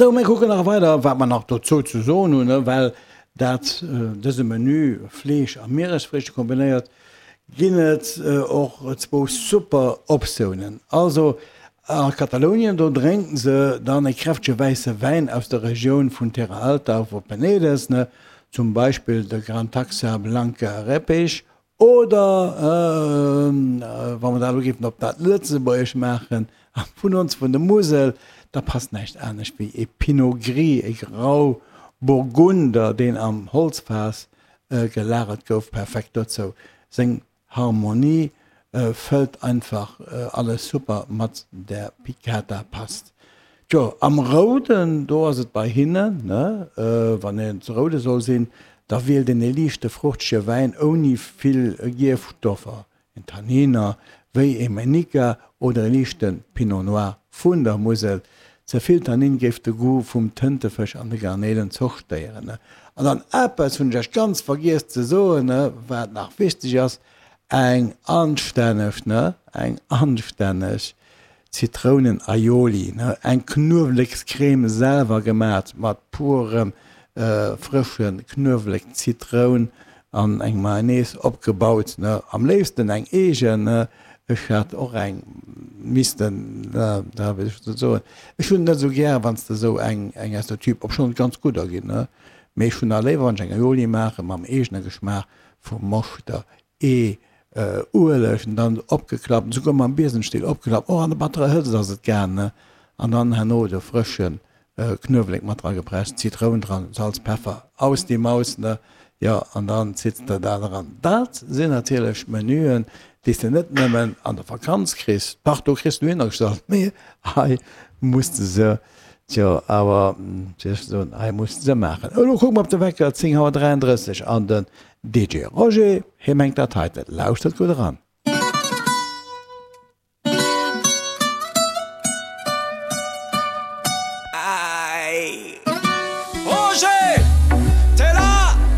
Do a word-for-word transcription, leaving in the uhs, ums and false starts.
Sou, mir kucken nach weider, wat mer nach dozou ze soen hunn, well dat dëse Menü, Fleesch a Mieresfriichte kombinéiert, ginn et och zwou super Optiounen. Also a Katalounien, do drénken se dann e kräftege wäisse Wäin aus der Regioun vun Terra Alta vu Penedès, zum Beispill de Gran Taxa Blanca Repich, Oder wa mer dat elo géifen op dat Lëtzebuergesch maachen, a vun ons vun der Musel, da passt näischt anescht wéi e Pinot Gris, e Grauburgunder, deen am Holzfaass gelagert gouf, perfekt dozou. Seng Harmonie fëllt einfach alles super mat der Piccata Past. Tjo, am Rouden, do ass et bei hinnen, ne, wann een ze roude soll sinn, da wielt een e liichte fruchtege Wäin ouni vill Gierfstoffer, en Tanniner, wéi e Menica oder e liichte Pinot Noir vun der Musel. Ze vill Tannin géif de Goût vum Tëntefësch an de Garnelen zerstéieren. An dann eppes hunn ech iech ganz vergiess ze soen, ne, wat nach wichteg ass, Eng anstänneg, ne, eng anstänneg Zitrounen-Aioli, ne, eng Knuewelekscreme selwer gemat mat purem frësche Knuewelek, Zitroun an eng Mayonnaise opgebaut, ne, am léifsten eng eegen, ne, ech hat och eng missten, da wéi soll ech soen, ech hunn et net esou gär wann s de esou eng eng aus der Tube, obschonn et ganz gudder ginn, ne, mee ech hunn nach léiwer wann ech eng Aioli maache mam eegene Geschmaach vu Moschter, Ee, Ueleg an dann opgeklappt, souguer mam Biesemstill opgeklappt, och an der batterer Hëtzt ass et gaang, ne? An dann herno de frësche Knuewelek mat dra gepresst, Zitroun dran, Salz, Peffer, aus die Maus, ne? Jo, an dann zitts de dat eran. Dat sinn natierlech Menüen, déi s de net nëmmen an der Vakanz kriss, dach do kriss de dohinnergestallt, mee hei muss de se, tjo, awer, wéi soll ech soen, hei muss de se maachen. Elo kucke mer op de Wecker, zéng Auer dräiandrësseg, an den D J Roger, hie mengt dat heiten. Lauschtert gutt eran.